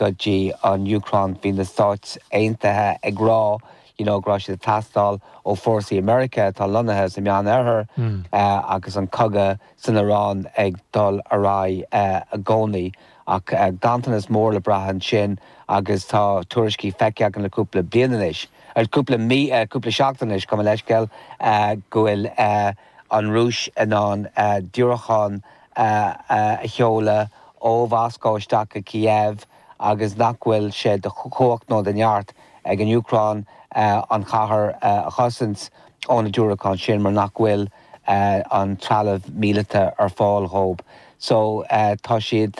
go dtí an Úcráin. Bhí na Stáit Aontaithe ag rá you know go raibh siad ag teastáil ó fórsaí Meiriceá atá lonnaithe sa Meán-Oirthear agus an cogadh san Iaráin ag dul ar aghaidh i gcónaí. Ach ganntanas mór le brath ansin agus tá tuairiscí feicthe againn le cúpla bliain anois, cúpla mí, cúpla seachtain anois, gabh mo leithscéal, go bhfuil an Rúis in ann diúracáin a sheoladh ó Mhoscó isteach go Kiev agus nach bhfuil sé de chumhacht nó de neart ag an Úcráin an chathair a chosaint ó na diúracáin sin mar nach bhfuil an trealamh míleata ar fáil dhóibh. So tá siad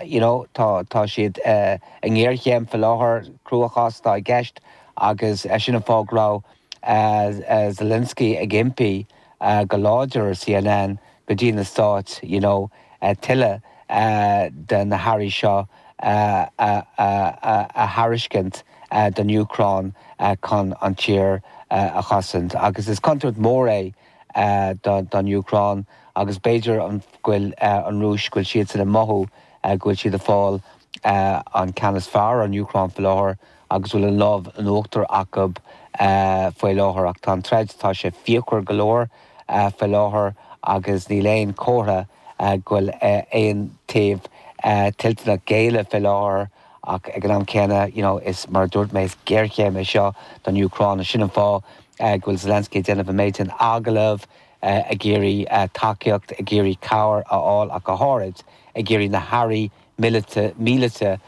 you know tá tá siad i ngéarchéim faoi láthair, cruachás atá i gceist agus sin an fáth go raibh Zelensky ag impí go láidir ar CNN go dtí na Stáit you know tuilleadh de na hearraí seo a thairiscint don Úcráin chun an tír a chosaint. Agus is contúirt mhór é don Úcráin agus b'fhéidir go bhfuil an Rúis, go bhfuil siadsan ag mothú go bhfuil siad ag fáil an ceann is fearr ar an Úcráin faoi láthair agus go bhfuil an lámh in uachtar acu faoi láthair. Ach tá an troid, tá sé fíochmhar go leor faoi láthair agus níl aon chomhartha go bhfuil aon taobh toilteanach géilleadh faoi láthair ach ag an am céanna, you know, is mar a dúirt mé, is géarchéim é seo don Úcráin agus sin an fáth go bhfuil Zelensky ag déanamh an méid sin agallamh, ag iarraidh tacaíocht, ag iarraidh cabhair a fháil ach go háirid ag iarraidh na hearraí míleata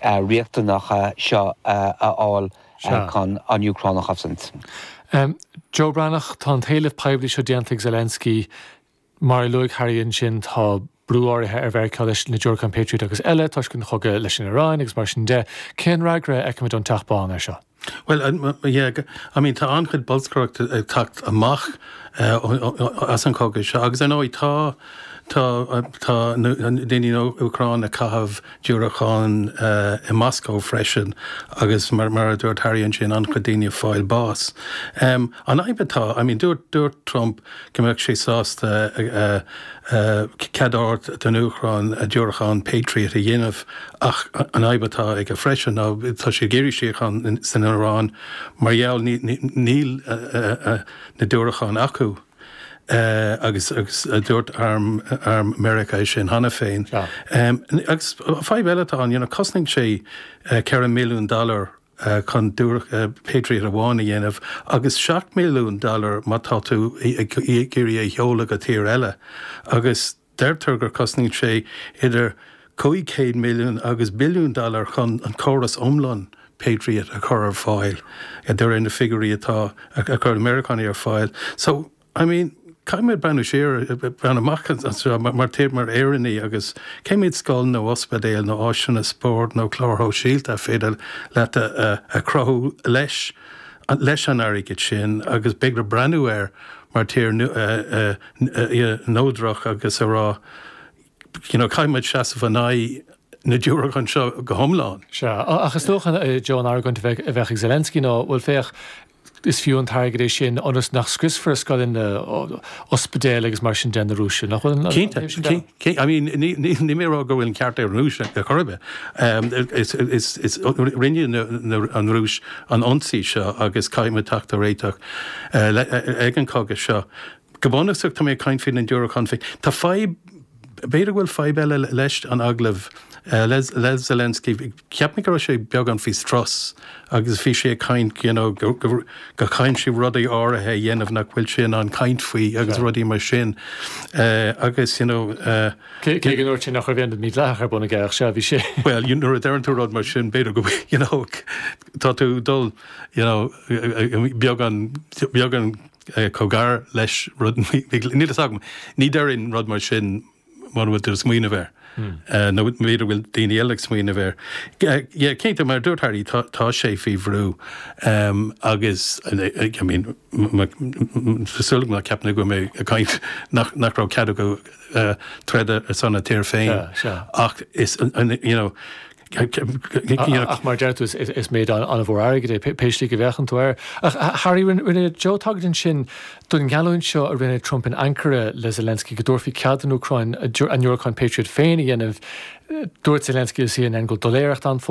riachtanacha seo a fháil chun an Úcráin a chosaint. Joe Breathnach, tá an t-éileamh poiblí seo déanta ag Zelensky. Mar a luaigh Harry ansin, tá brú áirithe ar Mheiriceá leis na diúracáin Patriot agus eile toisc an chogadh leis an Iaráin agus mar sin de. Cén fhreagra a fheicimid ón Teach Bán air seo? Bhuel, yeah, I mean, tá an-chuid bolscaireachta ag teacht amach as an chogadh seo agus ar ndóigh tá tá tá daoine in Úcráin ag caitheamh diúracán i Moscó freisin agus mar mar a dúirt Harry ansin an-chuid daoine ag fáil bás. An fhadhb atá, I mean, dúirt dúirt Trump go mbeadh sé sásta cead a thabhairt don Úcráin diúracán Patriot a dhéanamh ach an fhadhb atá aige freisin ná tá sé ag iarraidh síocháin san Iaráin mar gheall níl na diúracáin acu agus agus dúirt arm arm Meiriceá é sin cheana féin. Agus fadhb eile atá ann, you know, cosnaíonn sé 4 milliún dollar chun Patriot amháin a dhéanamh agus 7 milliún dollar má tá tú ag iarraidh é a sheoladh go tír eile agus deirtear gur cosnaíonn sé idir 500 milliún agus billiún dollar chun an córas iomlán Patriot a chur ar fáil de réir na figiúirí atá a chuir na Meiriceánaigh ar fáil. So, I mean, caithfidh muid breathnú siar, breathnú amach anseo mar tír, mar Éireannaigh agus cé mhéad scoil nó ospidéal nó áiseanna spóirt nó cláir shóisialta a féidir leat a chruthú leis, leis an airgead sin agus b'fhéidir breathnú air mar tír neodrach agus a rá, you know, caithfidh muid seasamh in aghaidh na diúracán seo go hiomlán. Sea, ach is dócha, Joe, an argóint a bheadh ag Zelensky ná, bhuel féach, is fiú an t-airgead é sin ionas nach scriosfar scoileanna, ospidéil agus mar sin de na Rúisigh, nach bhfuil an taobh sin de? Cinnte, I mean, níl mé ag rá go bhfuil an ceart ag an Rúis ar chor ar bith. Rinne an Rúis an ionsaí seo agus caithfidh muid teacht ar réiteach ag an chogadh seo. Go bunúsach, tá mé ag caint faoi na diúracáin féin. Tá fadhb, b'fhéidir go bhfuil fadhb eile leis an agallamh le Zelensky. Cheap mé go raibh sé beagán faoi strus agus bhí sé ag caint, you know, go gcaithfidh sé rudaí áirithe a dhéanamh nach bhfuil sé in ann caint faoi agus rudaí mar sin. Agus, you know. Cé go ndúirt sé nach raibh aon rud mídhleathach ar bun aige ach sea, bhí sé. Bhuel, nuair a deireann tú rud mar sin, b'fhéidir go bhfuil, you know, tá tú ag dul, you know, beagán, beagán, chomh gar leis rud, níl fhios agam, ní déarfainn rud mar sin mura bhfuil tú ag smaoineamh air, nó b'fhéidir go bhfuil daoine eile ag smaoineamh air. Yeah, cinnte, mar a dúirt Harry, tá, tá sé faoi bhrú agus, I mean, tá súil agam ná ceapann tú go bhfuil mé ag caint nach, nach raibh cead acu troid ar son a tír féin ach is, you know, Ach mar a deir tú, is méid an-mhór airgid é, pé slí go bhféachann tú air. Ach Harry, rinne Joe tagairt ansin don gheallúint seo a rinne Trump in Ankara le Zelensky go dtabharfaí cead don Úcráin a ndiúracáin Patriot féin a dhéanamh. Dúirt Zelensky le CNN go bhfuil doiléireacht ann fós.